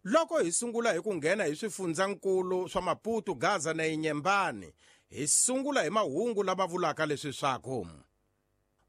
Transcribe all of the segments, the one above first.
Loko hi sungula hi ku nghena hi swifundzankulu swa Maputo, Gaza na Inyembani, hi sungula hi mahungu lama vulaka leswi swaku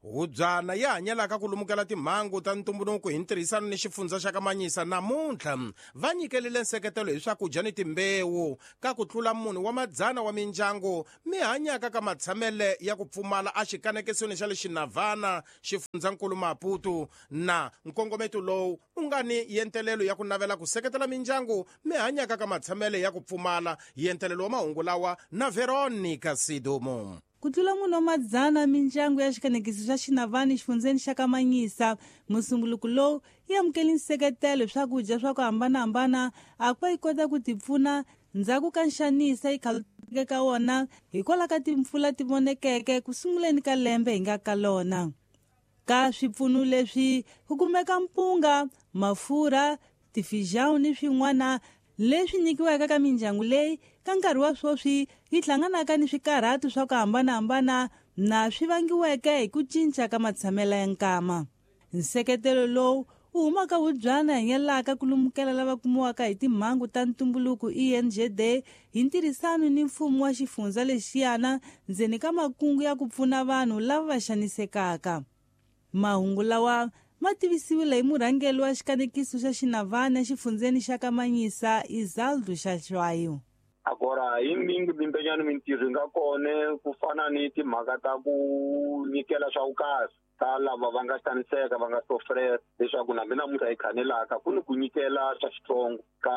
hubyana yi hanyelaka ku lumukela timhangu ta ntumbuluko hi ntirhisano ni xifundza xa Kamanyisa namuntlha va nyikelile nseketelo hi swakudya ni timbewu ka ku tlula munhu wa madzana wa mindyangu mi hanyaka ka matshamele ya ku pfumala exikanekisweni xa le Xinavana, xifundzankulu Maputo. Na nkongometo lowu u nga ni yentelelo ya ku navela ku seketela mindyangu mi hanyaka ka matshamele ya ku pfumala. Yentelelo wa mahungu lawa na Veronica Sidumo. Ku tlula munhu wa madzana mindyangu ya xikanekiso xa Xinavani xifundzeni xa Kamanyisa musumbuluko lowu yi amukele nseketelo hi swakudya swa ku hambanahambana a ku va yi kota ku tipfuna ndzhaku ka nxanisa yi khaluteke ka wona hikwalaho ka timpfula ti vonekeke ku sunguleni ka lembe hi nga ka lona. Ka swipfuno leswi ku kumeka mpunga, mafurha, tifijão ni swin'wana leswi nyikiwaka ka mindyangu leyi ka nkarhi wa sweswi yi hlanganaka ni swikarhato swa ku hambanahambana na swi vangiweke hi ku cinca ka matshamelo ya nkama. Nseketelo lowu wu humaka hubyana hanyelaka ku lumukela lava kumiwaka hi timhangu ta ntumbuluko ENGD hi ntirhisano ni mfumo wa xifundza lexiyana ndzeni ka makungu ya ku pfuna vanhu lava va xanisekaka. Mahungu lawa ma tivisiwile hi murhangeri wa xikanekiso xa Xinavana exifundzeni xa Kamanyisa, Isaldo Xaxwayo. Agora hi mingi mimpenyani mintirho yi nga kona ku fana ni timhaka ta ku nyikela swa vukahle ka lava va nga xaniseka va nga sofrela, leswaku na mina namuntlha hi khanelaka ku ni ku nyikela swa xitsongo ka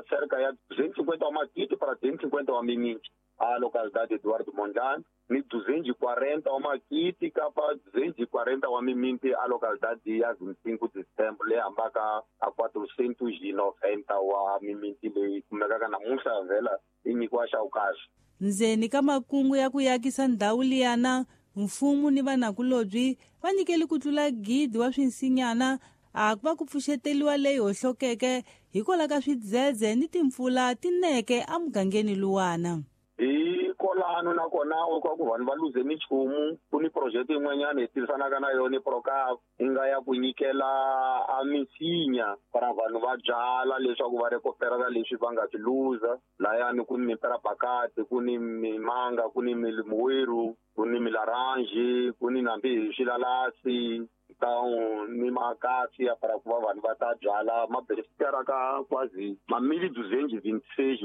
cerca ya 250 wa magidi para 250 wa miminti a localidade Eduardo Mondlane ni 240 wa magidi kapa 240 wa miminti a localidade ya 25 de Setembro leyi hambaka a 490 wa miminti leyi kumekaka namuntlha vhela yi nyikiwa xa vukahle. Ndzeni ka makungu ya ku yakisa ndhawu liyana, mfumo ni vanakulobyi va nyikele ku tlula 1,000 wa swinsinyana a ku va ku pfuxeteliwa leyi hohlokeke hikwalaho ka swidzedze ni timpfula tineke emugangeni luwana. Hi kolano nakona u ku vanhu va luze minchumu, ku ni project yin'wanyana hi tirhisanaka na yona Procap yi nga ya ku nyikela a misinya para vanhu va byala leswaku va recuperela leswi va nga swi luza. Layani ku ni miperabakati, ku ni mimanga, ku ni milimuweru, ku ni milaranji, ku ni nambi hi swilalasi, ni makasi ya para ku va vanhu va ta byala ma beneficiara ka quasi ma mili duzenji vintiseis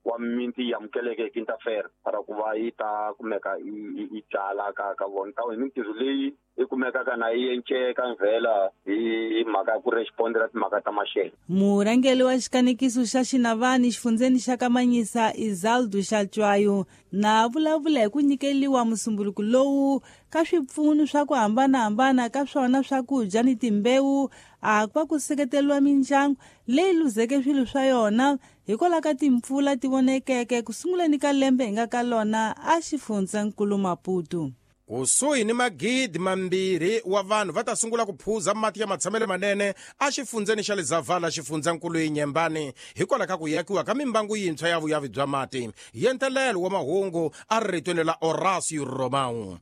wa minti yi amukeleke hi quinta-feira para ku va yi ta kumeka yi byala ka vona. Hi mintirho leyi yi kumekaka na yi enceka mvhela hi mhaka ya ku respondela timhaka ta maxelo. Murhangeri wa xikanekiso xa Xinavani xifundzeni xa Kamanyisa, Isaldo Xatswayo, na vulavula hi ku nyikeliwa musumbuluko lowu ka swipfuno swa ku hambanahambana ka swona swakudya ni timbewu a ku va ku seketeriwa mindyangu leyi luzeke swilo swa yona hikwalaho ka timpfula ti vonekeke ku sunguleni ka lembe hi nga ka lona a xifundzankulu Maputo. Kusuhi ni 2,000 wa vanhu va ta sungula ku phuza mati ya matshamelo manene exifundzeni xa le Zavala, xifundzankulu Inyembani, hikwalaho ka ku yakiwa ka mimbangu yintshwa ya vuyavi bya mati. Yentelelo wa mahungu a ri ritweni la Horacio Romão.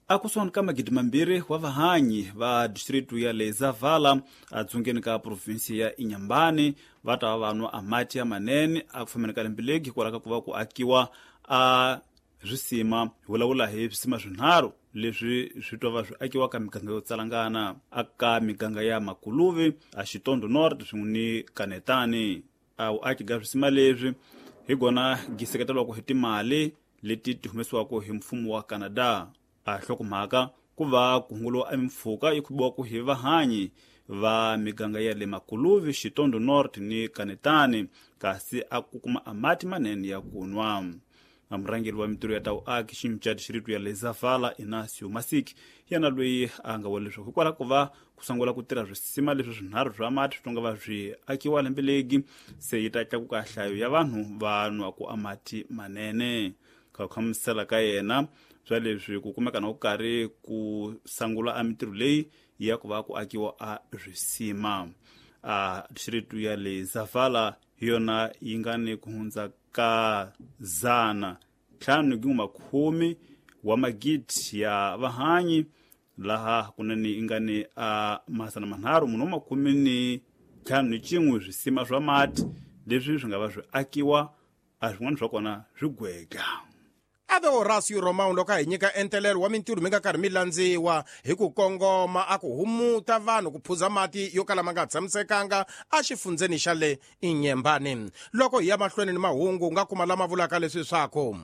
Akusuhani ka 2,000 wa vahanyi va distritu ya le Zavala adzungeni ka provinsi ya Inyambani va ta va vanwa a mati ya manene a ku fambeni ka lembe legi hikwalaho ka ku va ku akiwa a swisima. Hi vulavula hi swisima swinharhu leswi swi twa va swi akiwa ka miganga yo tsalangana aka miganga ya Makuluvi, a Xitondo North swin'we ni Kanetani. A vuaki bya swisima leswi hi gona gi seketeriwaka hi timali leti ti humesiwaka hi mfumo wa Canada. A hlokomhaka ku va ku hunguliwa emimpfhuka yi khubiwaka hi vahanyi va miganga ya le Makuluvi, Xitondo North ni Kanetani, kasi a ku kuma a mati manene ya ku nwa. Murhangeri wa mintirho ya ta vuaki xinca distritu ya le Zavala, Inacio Masik, yena loyi a nga vula leswaku hikwalaho ko va ku sungula ku tirha swisima leswi swinharhu swa mati swi nga va swi akiwa lembe legi, se yi ta tlakuka nhlayo ya vanhu va nwaka a mati manene. Ka ku hlamusela ka yena swa leswi ku kumeka na ku karhi ku sungula a mintirho leyi ya ku va ku akiwa a swisima. A distritu ya le Zavala hi yona yi nga ni ku hundza ka 510 wa magidi ya vahanyi, laha kunene yi nga ni a 346 51 swisima swa mati leswi swi nga va swi akiwa a swin'wana swa kona swi gwega. Ave Horacio Romão loko a hi nyika entelelo wa mintirho mi nga karhi mi landziwa hi ku kongoma a ku humuta vanhu ku phuza mati yo kala ma nga tshamisekanga exifundzeni xa le Inhambane. Loko hi ya mahlweni ni mahungu nga kuma lama vulaka leswi swaku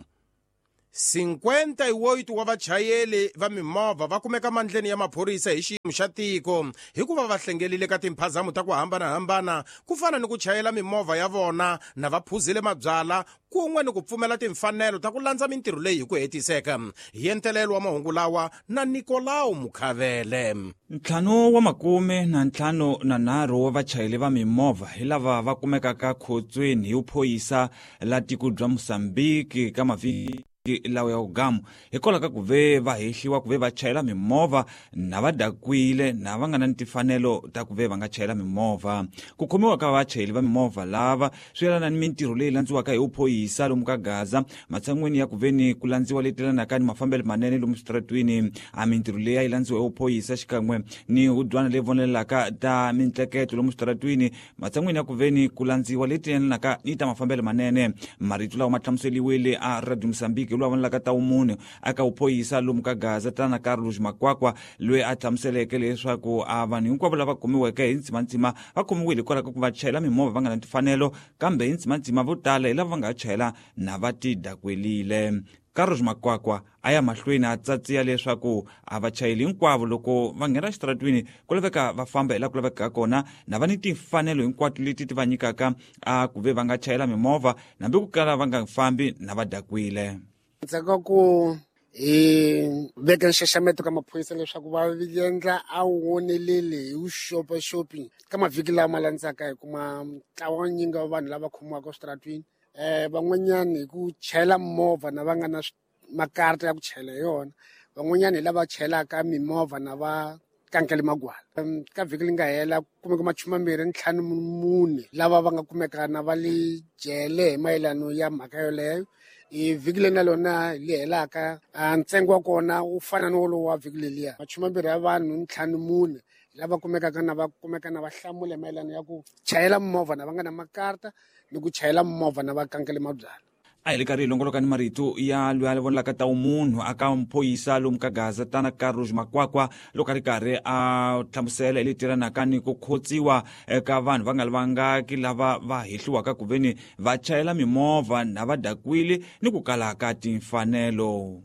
58 wa vachayeli va mimovha va kumeka mandleni ya maphorisa hi xiyimo xa tiko hikuva va hlengelile ka timphazamo ta ku hambanahambana ku fana ni ku chayela mimovha ya vona na va phuzile mabyala kun'we ni ku pfumela timfanelo ta ku landza mintirho leyi hi ku hetiseka. Hi entelelo wa mahungu lawa na Nikolao Mukhavele. 5 wa 53 wa vachayeli va mimovha hi lava va kumekaka khotsweni hi vuphorisa la tiko bya Mozambique ka mavhiki lawa ya ugamu hikwalaho ka ku ve va hehliwa ku ve va chayela mimovha na va dakwile na va nga na ni timfanelo ta ku ve va nga chayela mimovha. Ku khomiwa ka vachayeli va mimovha lava swi yelana ni mintirho leyi landziwaka hi vuphorisa lomu ka Gaza matshan'wini ya ku ve ni ku landziwa leyi telanaka ni mafambelo manene lomu switaratwini. A mintirho leyi a yi landziwa hi vuphorisa xikan'we ni hudywana leyi vonelelaka ta mintleketo lomu switaratwini matshan'wini ya ku ve ni ku landziwa leyi telanaka ni ta mafambelo manene. Marito lawa ma hlamuseliwile a Radio Mozambique loyi a vonelaka ta vumunhu aka vuphorisa lomu ka Gaza tana Carlos Makwakwa loyi a hlamuseleke leswaku a vanhu hinkwavo lava kumiweke hi ntsimantsima va khomiwile hikwalaho ka ku va chayela mimovha va nga na timfanelo, kambe hi ntsimantsima vo tala hi lava va nga chayela na va tidakwelile. Carlos Makwakwa a ya mahlweni a tsatsiya leswaku a vachayeli hinkwavo loko va nghena xitaratwini ku laveka va famba hi laha ku lavekaka kona na va ni timfanelo hinkwato leti ti va nyikaka a ku ve va nga chayela mimovha nambi ku kala va nga fambi na va dakwile. Ndzhaku ka ku hi veka nxaxameto ka maphorisa leswaku va endla a woneleli hi vuxopaxopi ka mavhiki lama landzaka hi kuma ntlawa wa nyingi wa vanhu lava khomiwaka eswitaratwini, van'wanyani hi ku chayela movha na va nga na makarata ya ku chayela hi yona, van'wanyani hi lava chayelaka mimovha na va kankele magwala. Ka vhiki leri nga hela ku kumeka 24 lava va nga kumeka na va le jele hi mayelano ya mhaka yoleyo. Hi vhiki leri na lona li helaka ntsengo wa kona wu fana ni wolowo wa vhiki leliya, 20 ya vanhu 54 lava kumekaka na va kumeka na va hlamula mayelano ya ku chayela movha na va nga na makarata ni ku chayela movha na va kankele mabyala. A hi le karhi hi longoloka ni marito ya loyi a vonelaka ta vumunhu aka muphoyisa lomu ka Gaza tana Carlos Makwakwa loko a ri karhi a hlamusela hi leti yelanaka ni ku khotsiwa ka vanhu va nga lavangaki lava va hehliwaka ku ve ni va chayela mimovha na va dakwile ni ku kala ka timfanelo.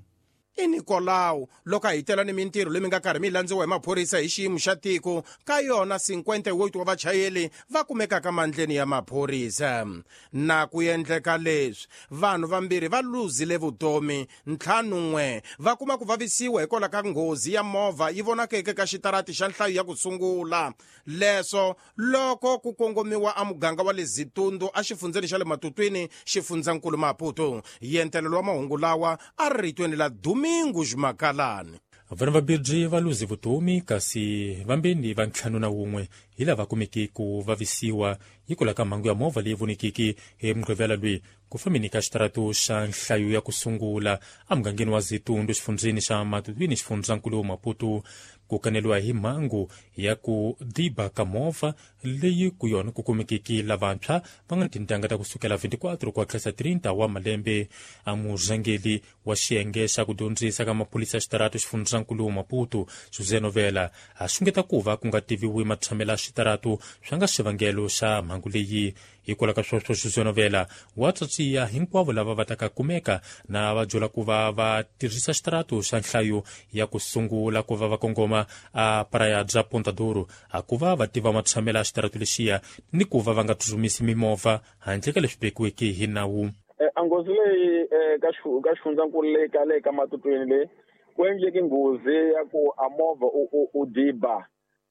I Nicolau loko a hitela ni mintirho leyi mi nga karhi mi landziwa hi maphorisa hi xiyimo xa tiko ka yona 58 wa vachayeli va kumekaka mandleni ya maphorisa. Na ku endleka leswi vanhu vambirhi va luzile vutomi, 51 va kuma ku vavisiwa hikwalaho ka nghozi ya movha yi vonakeke ka xitarati xa nhlayo ya ku sungula. Leswo loko ku kongomiwa a muganga wa le Zitundu a xifundzeni xa le Matutwini xifundzankulu Maputo. Yentelelo wa mahungu lawa a ri ritweni la Domingos Makalani. Vanhu vambirhi va luze vutomi kasi vambirhi va 51 hi lava kumeke ku vavisiwa hikwalaho ka mhangu ya movha leyi vonekeke hi Mugqivela loyi ku fambeni ka xitaratu xa nhlayo ya ku sungula emugangeni wa Zitundu xifundzeni xa Matutwini xifundzankulu Maputo. Ku kaneliwa hi mhangu ya ku diba ka movha leyi ku yona ku kumekeke lavantshwa va nga tintangha ta kusukela 24 ku tlhela 30 wa malembe. A murhangeri wa xiyenge xa ku dyondzisa ka maphorisa xitaratu xifundzankulu Maputo José Novela a xungeta ku va ku nga tiviwi matshamelo ya xitaratu swa nga xivangelo xa mhangu leyi. Hikwalaho ka sweswo José Novela wa tsatsiya hinkwavo lava va taka kumeka na va byela ku va va tirhisa xitaratu xa nhlayo ya ku sungula ku va va kongoma a Praia bya Ponta Douro a ku va va tiva matshamelo ya xitaratu lexiya ni ku va va nga tsutsumisi mimovha handle ka leswi vekiweke hi nawu. A nghozi leyi ka xifundzankulu leyi ka le ka Matutwini leyi ku endleke nghozi ya ku a movha u diba.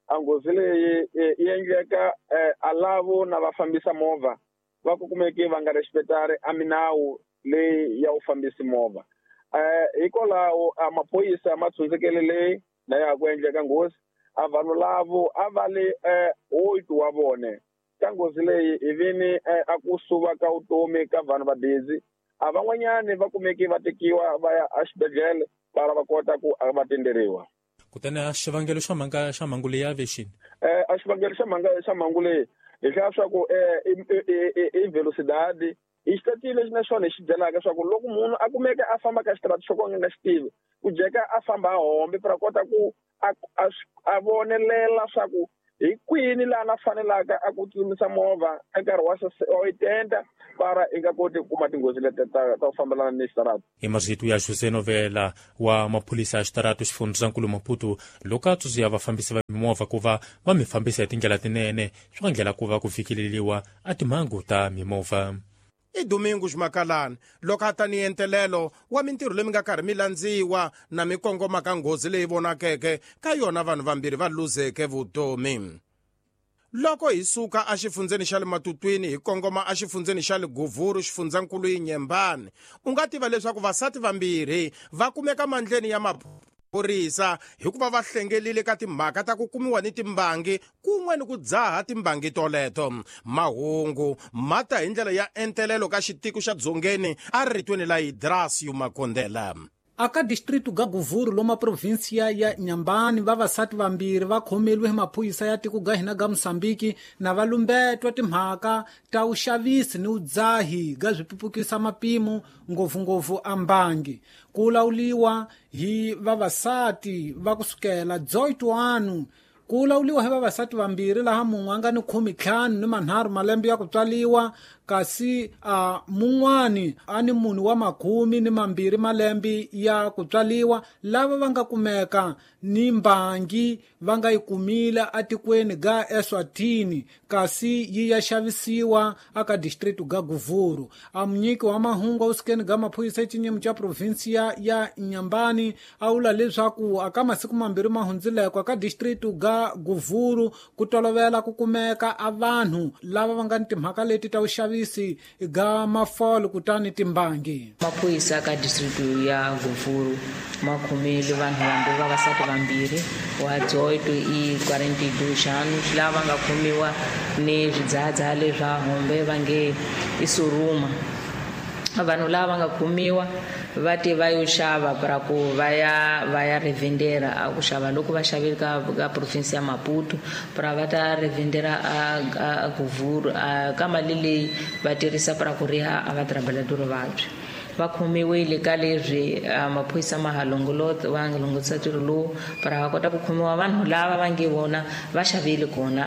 A nghozi leyi yi endleka a lavo na va fambisa movha va ku kumeke va nga respectari a minawu leyi ya u fambisi movha. Hikwalaho a maphorisa ma tshundzekele leyi na ya ku endleka nghozi a vanhu lavo a va le 8 wa vone ka nghozi leyi hi vini a ku suva ka vutomi ka vanhu va busy. A van'wanyani va kumeke va tekiwa va ya exibedhlele va va kota ku va tenderiwa. Kutani a xivangelo xa mhanga xa mhangu leyi a ve xini? A xivangelo xa mhanga xa mhangu leyi Hi hlaya swa ku i velocidade i xitatile lexi na xona hi xi byelaka swa ku loko munhu a kumeka a famba ka xitarata xo ka a nga xi tivi ku jeka a famba a hombe para kota ku a vonelela swa ku hi kwini laha na fanelaka a ku tsutsumisa movha ka nkarhi wa 80 para i nga koti ku kuma tinghozi leti ta ku fambelana ni xitarata. Hi marito ya José Novela wa maphorisa ya xitarata xifundzankulu Maputo loko a tsundzuxa vafambisi va mimovha ku va va mi fambisa hi tindlela tinene swi nga ndlela ku va ku fikeleriwa a timhangu ta mimovha. I Domingo Makalani loko a ta ni entelelo wa mintirho leyi mi nga karhi mi landziwa na mi kongoma ka nghozi leyi vonakeke ka yona vanhu vambirhi va luzeke vutomi. Loko hi suka exifundzeni xa le Matutwini hi kongoma exifundzeni xa le Guvuru xifundzankulu Inhambane, u nga tiva leswaku vasati vambirhi va kumeka mandleni ya maphorisa hikuva va hlengelile ka timhaka ta ku kumiwa ni timbangi kun'we ni ku dzaha timbangi toleto. Mahungu ma ta hi ndlela ya entelelo ka xitiko xa Dzongeni a ritweni la Idrasio Makondela. Aka distrito ga Guvuru loma província ya Inhambane vavasati vambirhi va khomeliwe hi maphorisa ya tiko ga hina ga Mozambique na va lumbetwa timhaka ta vuxavisi ni vudzahi ga swipupukisa mapimo ngopfungopfu a mbangi. Ku lawuliwa hi vavasati va kusukela 18 ku lawuliwa hi vavasati vambirhi laha mun'we a nga ni 15 ni 3 malembe ya ku tswaliwa kasi a mun'wani a ni munhu wa 12 malembe ya ku tswaliwa lava va nga kumeka ni mbangi va nga yi kumile atikweni ga Eswatini kasi yi ya xavisiwa aka distrito ga Guvuru. A munyiki wa mahungu awusikeni ga maphorisa exinyimo xa provinsia ya Inhambane a vula leswaku aka masiku mambirhi ma hundzileko aka distrito ga Guvuru ku tolovela ku kumeka a vanhu lava va nga ni timhaka leti ta vuxavisi ga mafolo kutani timbangi. Maphorisa ka distrito ya Guvuru ma khomile vanhu vambirhi vavasati vambirhi wa 18 i 42 anos lava nga khomiwa ni swidzahadzhaha leswa hombe va nge i suruma. Vanhu lava nga khomiwa va te va yo xava para ku va ya revendera a ku xava loko va xavile ka province ya Maputo para va ta revendera a Guvuru ka mali leyi va tirhisa para ku riha a va trabalhador vabyi. Va khomiwile ka leswi maphorisa ma ha longolota va nga longolotisa ntirho lowu para va kota ku khomiwa vanhu lava va nge vona va xavile kona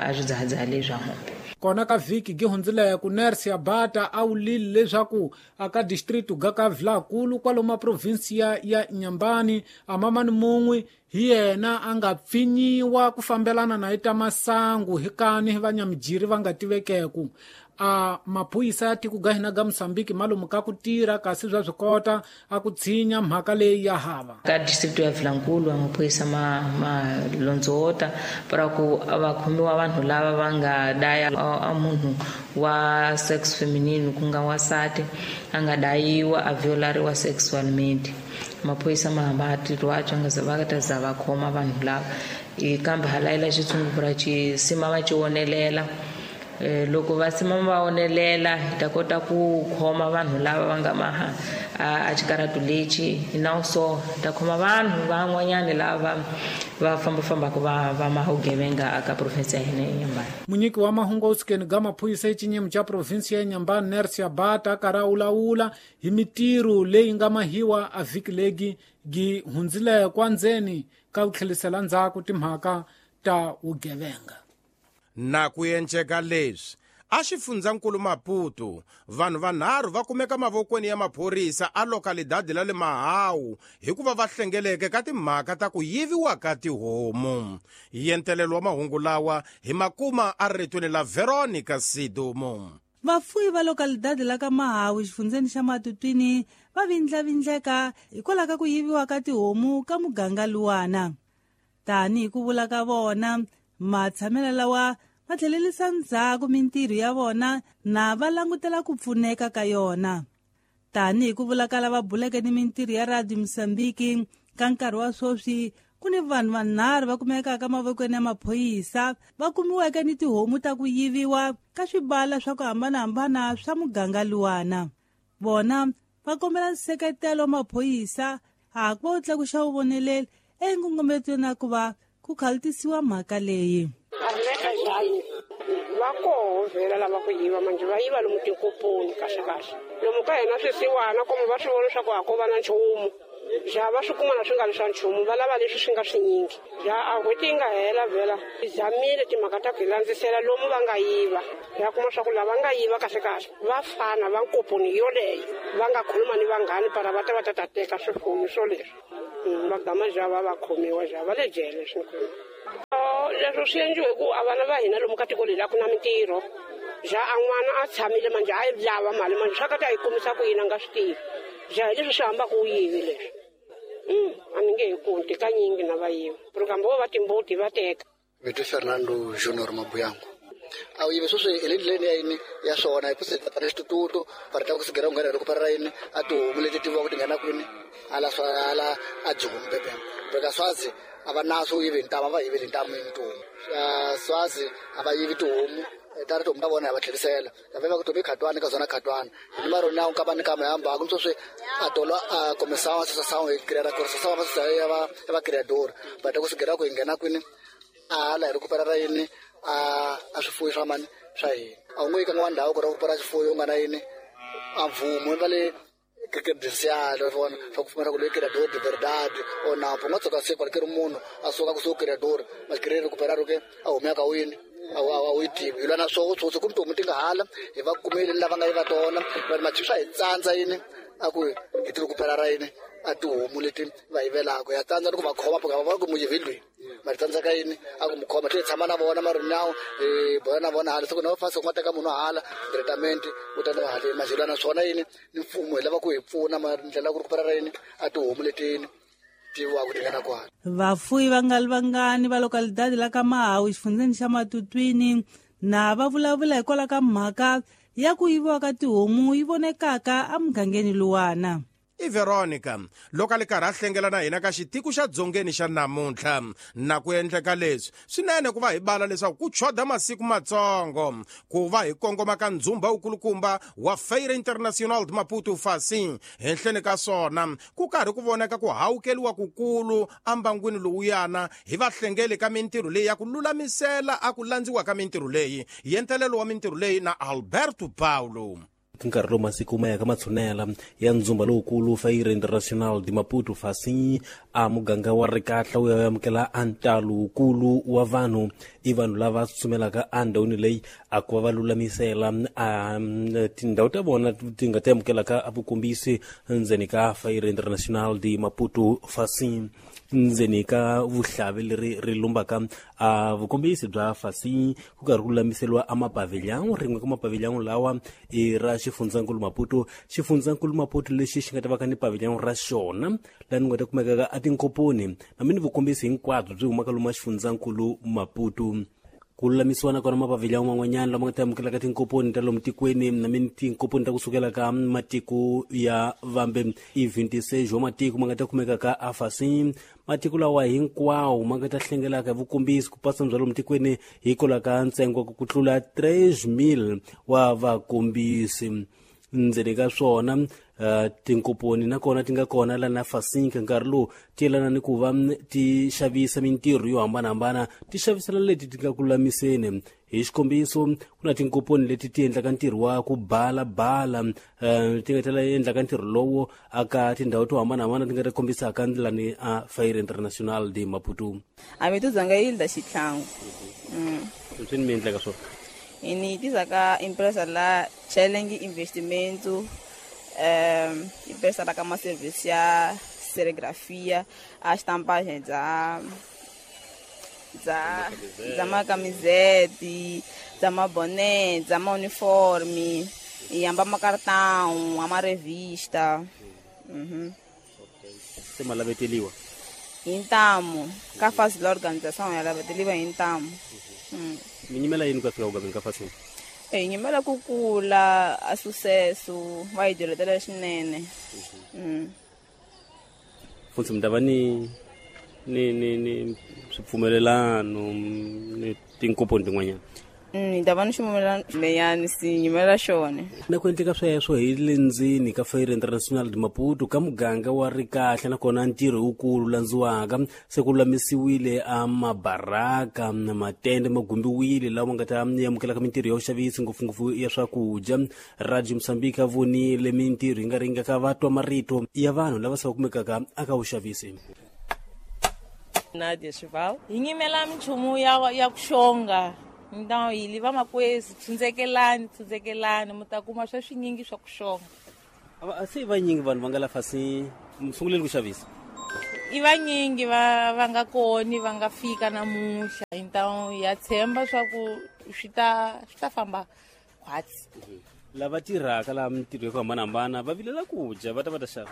a swidzahadzhaha leswa hombe. Kona ka vhiki gi hundzileko Nersia Bata a wulile leswaku aka distrito ga ka Vilakulu kwalomu provinsia ya Inhambane a mamani mun'we hi yena a nga pfinyiwa ku fambelana na ita masangu hi kani vanyamijiri va nga tivekeku. A maphorisa ya tiko ga hina ga Mozambique malomu ka ku tirha kasi bya swi kota a ku tshinya mhaka leyi ya hava. Ka distrito ya Vilankulu maphorisa ma londzota para ku va khomiwa vanhu lava va nga daya a munhu wa sex feminine ku nga wansati a nga dayiwa a violariwa sexualmente. Maphorisa ma hamba tirho nga za va ta za va khoma vanhu lava kambe halayela xitshungu xi sima va xi wonelela. Loko va sima va onelela hi ta kota ku khoma vanhu lava va nga maha a xikaratu lexi na so hi ta khoma vanhu van'wanyani lava va fambafambaka va maha vugevenga aka province ya hina ya Inhambane. Munyiki wa mahungu awusikeni ga maphorisa exinyimo xa province ya Inhambane Nersia Bata karhi a wulawula hi mitirho leyi nga mahiwa a vhiki legi gi hundzileko endzeni ka ku tlhelisela ndzhaku timhaka ta vugevenga. Na ku enceka leswi a xifundzankulu Maputo vanhu vanharhu va kumeka mavokweni ya maphorisa a lokalidadi la le Mahawu hikuva va hlengeleke ka timhaka ta ku yiviwa ka tihomu. Yentelelo wa mahungu lawa hi makuma a ritweni la Veronica Sidumo. Vafuyi va lokalidadi la ka Mahawu xifundzeni xa Matutwini va vindlavindleka hikwalaho ka ku yiviwa ka tihomu ka muganga luwana. Tanihi ku vula ka vona matshamelo lawa va tlhelerisa ndzhaku mintirho ya vona na va langutela ku pfuneka ka yona. Tanihi ku vula ka lava buleke ni mintirho ya Radio Mozambique ka nkarhi wa sweswi ku ni vanhu vanharhu va kumekaka mavokweni ya maphorisa va kumiweke ni tihomu ta ku yiviwa ka swibala swa ku hambanahambana swa muganga luwana. Vona va kombela nseketelo wa maphorisa a ku va wu tlakuxa vuvoneleli enkongometweni na ku va ku khaltisiwa mhaka leyi. Va koho vhela lava ku yiva manje va yiva lomu tinkoponi kahle kahle. Lomu ka hina swisiwana komo va swi vona leswaku a ko va na nchumu. Ja va swi kuma na swi nga ri swa nchumu va lava leswi swi nga swinyingi. Ja a n'hweti yi nga hela vhela hi zamile timhaka ta ku hi landzisela lomu va nga yiva. Ya kuma swa ku lava nga yiva kahle kahle va fana va nkoponi yoleyo va nga khuluma ni vanghani para va ta va ta ta teka swifuwo swoleswi. Va gama ja va va khomiwa ja va le jele swi leswo swi endliwe ku a vana va hina lomu ka tiko leri a ku na mintirho. Ja a n'wana a tshamile manje a yi lava mali manje swa ka ta yi kumisa ku yini a nga swi tivi. Ja hi leswi swi hambaka u yivi leswi. A mi nge hi kunti kanyingi na va yiva. Kambe vo va timbuti va teka. Vito Fernando Junior Mabuyangu. A wu yivi sweswi hi le ndleleni ya yini ya swona hi ku se para xitututu para ta ku sigera ku nghena loko para yini a tihomu leti tiviwaka ti nghena kwini ala swa ala a Joni bebe. Beka Swazi a va naso u yivi ntamu a va yiveli ntamu yini tihomu. Swazi a va yivi tihomu ta ri tihomu ta vona ya va tlherisela. Ya va ku tihomu i khatwani ka zona khatwani. Hi marona ya ka ni kama hamba ku sweswi a tolo a comissão associação e criar a associação ya va ya va criador. Va ta ku sigera ku hi nghena kwini ala hi recuperar yini a swifuwo swa mani swa hina. A wu nge yi ka n'wana ndhawu ku recuperar swifuwo u nga na yini a mvumo va le credencial vona swa ku pfumela ku loyi criador de verdade o na u nga tshuka se kwale ke ri munhu a suka kusuhi criador ma recuperar ke a humeka ka wini a wu yi tivi. Hi lwa na swoho swoswi ku tihomu ti nga hala hi va kumile lava nga yiva tona va ri swa hi tsandza yini a ku hi ti recuperar yini a tihomu leti va yivelaka ya tsandza ni ku va khoma va va ku muyivi loyi ma tsandzaka yini a ku mu khoma tlhe tshama na vona marinawu hi bola na vona hala siku na fasi ku nga teka munhu hala tretament u ta na haleni majelo na swona yini ni mfumo hi lava ku hi pfuna ma ndlela ku recuperar yini a tihomu leti tiviwaka ti nghena kwala. Vafuyi va nga ri vangani va localidade la ka Mahawu xifundzeni xa Matutwini na va vulavula hikwalaho ka mhaka ya ku yiviwa ka tihomu yi vonekaka emugangeni luwana. I Veronica loko a li karhi a hlengela na hina ka xitiko xa dzongeni xa namuntlha na ku endleka leswi swinene ku va hi bala leswaku ku choda masiku matsongo ku va hi kongoma ka ndzumba wukulukumba wa Feira Internacional de Maputo Facim. Henhleni ka swona ku karhi ku voneka ku hawukeliwa kukulu ambangwini lowuyana hi vahlengeli ka mintirho leyi ya ku lulamisela a ku landziwa ka mintirho leyi yentelelo wa mintirho leyi na Alberto Paulo. Nkarhi lowu masiku ma yaka matshunela ya ndzumba lowukulu Feira Internacional de Maputo Facim a muganga wa Rikatla wu ya amukela a ntalo wukulu wa vanhu i vanhu lava tsutsumelaka endhawini leyi a ku va va lulamisela a tindhawu ta vona ti nga ti amukelaka a vukombisi ndzeni ka Feira Internacional de Maputo Facim. Ndzeni ka vuhlavi leri ri lumbaka a vukombisi bya Facim ku karhi ku lulamiseriwa a mapavilhão rin'we ka mapavilhão lawa i ra xifundzankulu Maputo. Xifundzankulu Maputo lexi xi nga ta va ka ni pavilhão ra xona laha ni nga ta kumekaka a tinkoponi na mi ni vukombisi hinkwabyo byi humaka lomu xifundzankulu Maputo. Ku lulamisiwa na kona mapavilhão man'wanyana lama nga ta amukelaka tinkoponi ta lomu tikweni na mi tinkoponi ta kusukela ka matiko ya vambe i 26 wa matiko ma nga ta kumeka ka Facim. Matiko lawa hinkwawo ma nga ta hlengelaka hi vukombisi ku pasa bya lomu tikweni hikwalaho ka ntsengo ku tlula 3000 wa vakombisi. Ndzeni ka swona tinkoponi nakona ti nga kona la na Facim ka nkarhi lowu ti yelana ni ku va ti xavisa mintirho yo hambanahambana ti xavisela leti ti nga ku lulamiseni. Hi xikombiso ku na tinkoponi leti ti endlaka ntirho wa ku balabala ti nga tela endlaka ntirho lowo aka tindhawu to hambanahambana ti nga ti kombisaka ndlela ni a Feira Internacional de Maputo. A mi tuzanga Hilda Xitlhangu. Swi ni mi endlaka swona ini tizaka empresa la Challenge Investimento, empresa la kama serviço ya serigrafia, a estampagem da ma camisete, da ma boné, da ma uniforme, e amba ma cartão, ama revista. Se malaveteliwa. Então, ka faz la organização ela veteliwa então. Minyimela yini ka fika ku ka Facim? Nyimela ku kula a sucesso va yi dyondzela swinene. Futhi mi ta va ni ni ni ni swipfumelelano ni tinkoponi tin'wanyana? Ni ta va ni xumela leyani si nyimela xona. Na ku endleka sweswo hi le ndzeni ka Feira Internacional de Maputo ka muganga wa Rikahle, nakona ntirho wukulu landziwaka se ku lulamisiwile a mabaraka na matende ma gumbiwile lawa nga ta amukelaka mintirho ya vuxavisi ngopfungopfu ya swakudya. Radio Mozambique a vonile mintirho yi nga ringaka va twa marito ya vanhu lava se va kumekaka aka vuxavisi. Nadia Shival hi nyimela minchumu ya ku xonga. Então hi vamakwezi tshundzekelani mi ta kuma swa swinyingi swa ku xonga. Se vanyingi vanhu va nga la fasi sunguleni ku xavisa. I vanyingi va nga koni va nga fika namuntlha, então ya tshemba swa ku swi ta famba khwatsi. Lava tirhaka laha mintirho ya ku hambanahambana va vilela ku dya, va ta xava.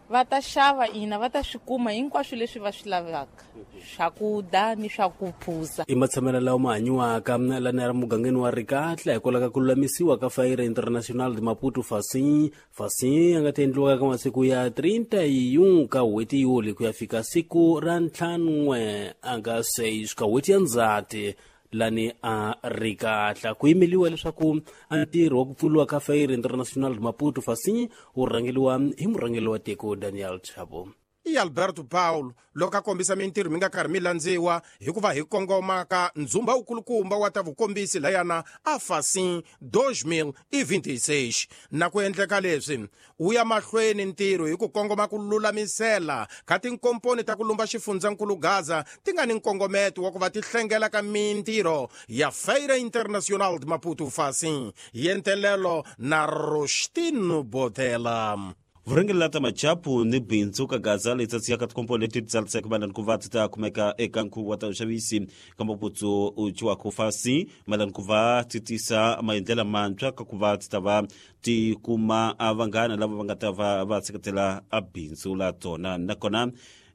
Va ta xava ina, va ta swi kuma hinkwaswo leswi va swi lavaka, swakudya ni swa ku phuza. I matshamelo lawa ma hanyiwaka lana ya mugangeni wa Rikatla hikwalaho ka ku lulamisiwa ka Feira Internacional de Maputo Facim ya nga ta endliwaka ka masiku ya 31 ka n'hweti Yuli ku ya fika siku ra 5 anga 6 ka n'hweti ya Ndzhati lani a Rikatla. Ku yimeliwa leswaku ntirho wa ku pfuriwa ka Feira Internacional de Maputo Facim wu rhangeriwa hi murhangeri wa tiko Daniel Chapo. I Alberto Paulo loko a kombisa mintirho mi nga karhi mi landziwa hikuva hi kongoma ka ndzumba wukulukumba wa ta vukombisi layana a Facim 2026. Na ku endleka leswi wu ya mahlweni ntirho hi ku kongoma ku lulamisela ka tinkomponi ta ku lumba xifundzankulu Gaza ti nga ni nkongometo wa ku va ti hlengela ka mintirho ya Feira Internacional de Maputo Facim yentelelo na Rostino Botela. Vurhangeri la ta machapu ni bindzu ka Gaza letsatsi ya ka tikomponi leti tsariseke mayelana ku va ti ta kumeka eka nkhuvo wa ta vuxavisi ka Maputo u ciwaka fasi mayelana ku va ti tisa maendlela mantshwa ka ku va ti ta va ti kuma vanghana lava va nga ta va va seketela a bindzu la tona. Nakona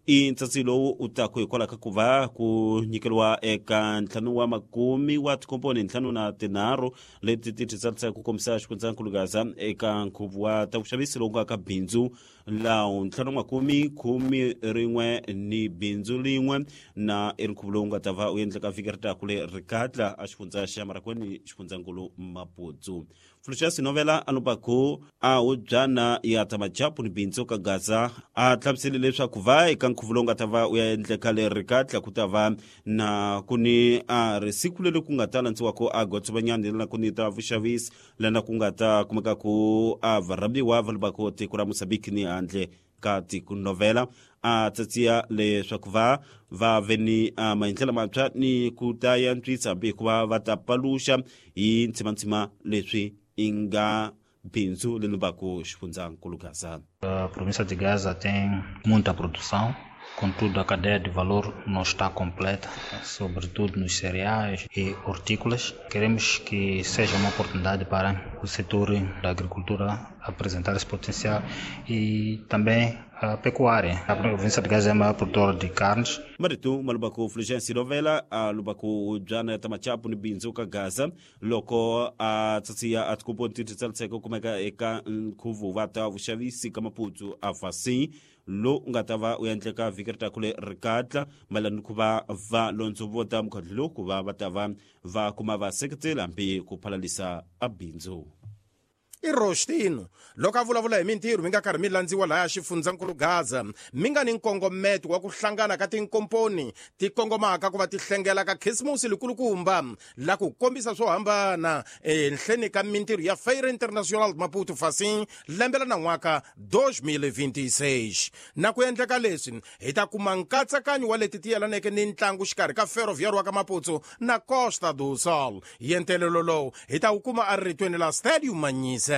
i ntsatsi lowu u taku hikwalaho ka ku va ku nyikeriwa eka 50 wa tikomponi 53 leti ti tsarisaka ku kombisa xifundzankulu Gaza eka nkhuvo wa ta vuxavisi lowu nga ka bindzu lawu 511 ni bindzu lin'we na i nkhuvo lowu nga ta va u endleka vhiki ri taku le Rikatla a xifundza xa Marakweni xifundzankulu Maputo. Fluxas Novela anubaku a hubyana ya ta machapu ni bindzu ka Gaza a hlamusele leswaku va eka nkhuvo lowu nga ta va u ya endleka le Rikatla ku ta va na ku ni a risiku leri ku nga ta landziwako a gotsovanyani lana ku ni ta vuxavisi lana ku nga ta kumeka ku a varhambiwa va lubako tiko ra Mozambique ni handle ka tiko. Novela a tsatsiya leswaku va ve ni maendlelo mantshwa ni ku ta yantswisa hambi hikuva va ta paluxa hi ntsimantsima leswi inga bindzu leri lumbaka xifundzankulu Gaza. A província de Gaza tem muita produção, contudo a cadeia de valor não está completa, sobretudo nos cereais e hortícolas. Queremos que seja uma oportunidade para o setor da agricultura apresentar esse potencial e também a pecuária. A província de Gaza é a maior produtora de carnes. Marito malubaku Fulgêncio Novela a lubaku jana tamachapu ni bindzu ka Gaza loko a tsatsiya a tikomponi ti tsariseke kumeka eka nkhuvo wa ta vuxavisi ka Maputo a Facim lo nga ta va u endleka vhiki ri taku le Rikatla mayelana ku va va londzovota mukhandlu lowu ku va va ta va va kuma vaseketeli hambi ku phalalisa a bindzu. I Rostino loko a vulavula hi mintirho mi nga karhi mi landziwa laya xifundzankulu Gaza mi nga ni nkongometo wa ku hlangana ka tinkomponi ti kongomaka ku va ti hlengela ka Khisimusi likulukumba la ku kombisa swo hambana enhleni ka mintirho ya Feira Internacional de Maputo Facim lembe la nan'waka 2026. Na ku endleka leswi hi ta kuma nkatsakanyo wa leti ti yelaneke ni ntlangu xikarhi ka Ferroviário wa ka Maputo na Costa do Sol. Yentelelo lowu hi ta wu kuma eritweni la Stadium Manyisa.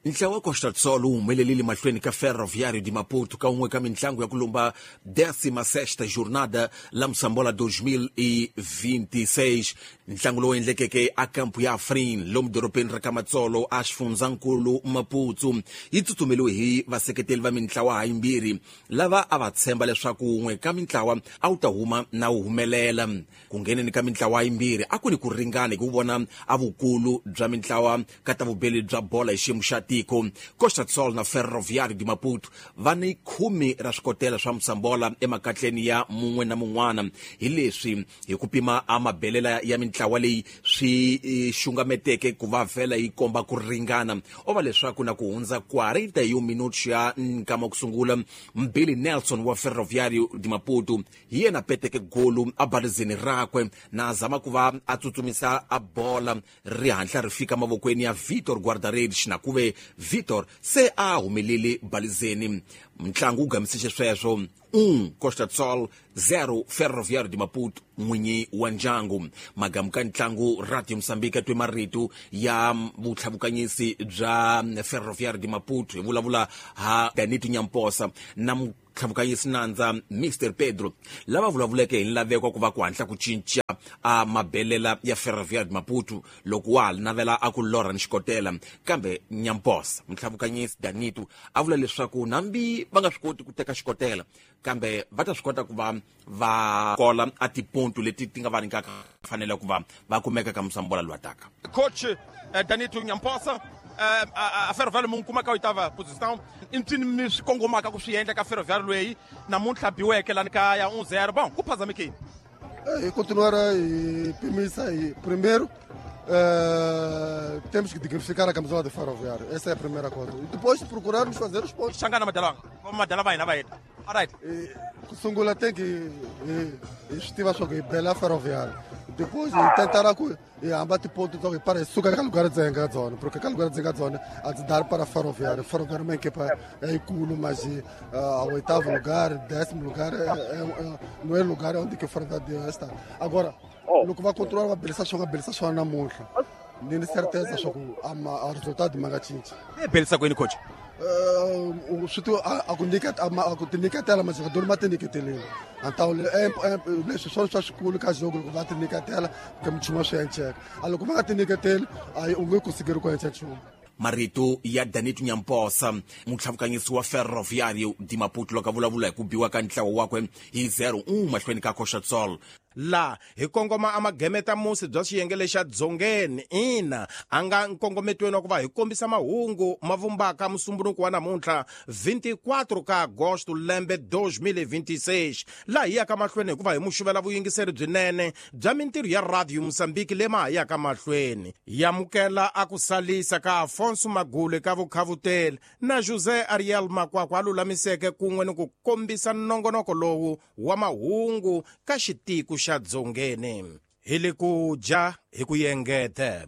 Ntlawa wa Costa do Sol wu humelelile mahlweni ka Ferroviário de Maputo ka un'we ka mintlangu ya ku lumba 16ª jornada la Moçambola 2026. Ntlangu lowu endlekeke a kampu ya Afrin lomu dorobeni ra ka Matsolo a xifundzankulu Maputo yi tsutsumeliwe hi vaseketeli va mintlawa hayimbirhi lava a va tshemba leswaku un'we ka mintlawa a wu ta huma na wu humelela. Ku ngheneni ka mintlawa yimbirhi a ku ni ku ringana hi ku vona a vukulu bya mintlawa ka ta vubeli bya bola hi xiyimo xa tiko. tiko. Costa do Sol na Ferroviário de Maputo va ni 10 ra swikotela swa Mosambola emakatleni ya mun'we na mun'wana. Hi leswi hi ku pima a mabelela ya mintlawa leyi swi xungameteke ku va vhela yi komba ku ringana. O va leswaku na ku hundza 41 minutos ya nkama ku sungula, Mbili Nelson wa Ferroviário de Maputo hi yena peteke golu a balizeni rakwe na zama ku va a tsutsumisa a bola ri hatla ri fika mavokweni ya Vitor Guarda-redes, na kuve Vitor se a humelele balizeni. Mntlangu wu gamisise sweswo 1 Costa do Sol 0 Ferroviário de Maputo n'winyi wa ndyangu. Magamu ka ntlangu Radio Mozambique twe marito ya vutlhavukanyisi bya Ferroviário de Maputo hi vulavula ha Danito Nyamposa na tlhavukanyisi nandza Mr Pedro lava vulavuleke hi nlaveko ku va ku hatla ku cinca a mabelela ya Ferroviário de Maputo loko wa ha navela a ku lorha ni xikotela. Kambe Nyamposa mutlhavukanyisi Danito a vula leswaku nambi va nga swi koti ku teka xikotela, kambe va ta swi kota ku va va kola a tiponto leti ti nga va nyikaka fanele ku va va kumeka ka Mosambola lowu taka. Coach Danito Nyamposa, a Ferroviário mu kuma ka oitava posição i mpsini mi swi kongomaka ku swi endla ka Ferroviário loyi namuntlha biweke lani kaya 1-0. Bom, ku phazamekeni e continuar a pimisa e primeiro temos que dignificar a camisola de Ferroviário, essa é a primeira coisa, e depois procurarmos fazer os pontos. Xangana madalanga madala va hina va heta. Alright, sungula tem que swi tiva swa ku hi bela Ferroviário, depois tentar ku hi hamba tiponto ta ku hi para hi suka ka lugar dzenga dzona, porque ka lugar dzenga dzona a ndzi dar para Ferroviário. Ferroviário é uma equipa yikulu, mas ao oitavo lugar, 10º lugar não é lugar onde que o Ferroviário está. Agora loko va controla va belisa swona, belisa swona namuntlha ni ni certeza swa ku a resultado ma nga cinci. Belisa kwini coach? Swi ti a ku nyiketa a ku tinyiketela majogadori ma tinyiketelile antawu leswi swona swa xikulu ka jogo, loko va tinyiketela ka minchumu swi enceka, a loko va nga tinyiketeli a u nge kusikeri ku enca nchumu. Marito ya Danito Nyamposa mutlhavukanyisi wa Ferroviário de Maputo loko a vulavula hi ku biwa ka ntlawa wakwe hi 0-1 mahlweni ka Costa do Sol. La hi kongoma a magemeta musi bya xiyenge lexa dzongeni ina a nga nkongometweni wa ku va hi kombisa mahungu ma vumbaka musumbunuko wa namuntlha 24 ka agosto lembe 2026, laha hi yaka mahlweni hikuva hi muxuvela vuyingiseri byinene bya mintirho ya Radio Mozambique lema ha yaka mahlweni. Yamukela a ku salisa ka Afonso Magule ka vukhavuteli na José Ariel Makwakwa a lulamiseke kun'we ni ku kombisa nongonoko lowu wa mahungu ka xitiko xa dzongeni. Hi le ku dya hi ku yengete.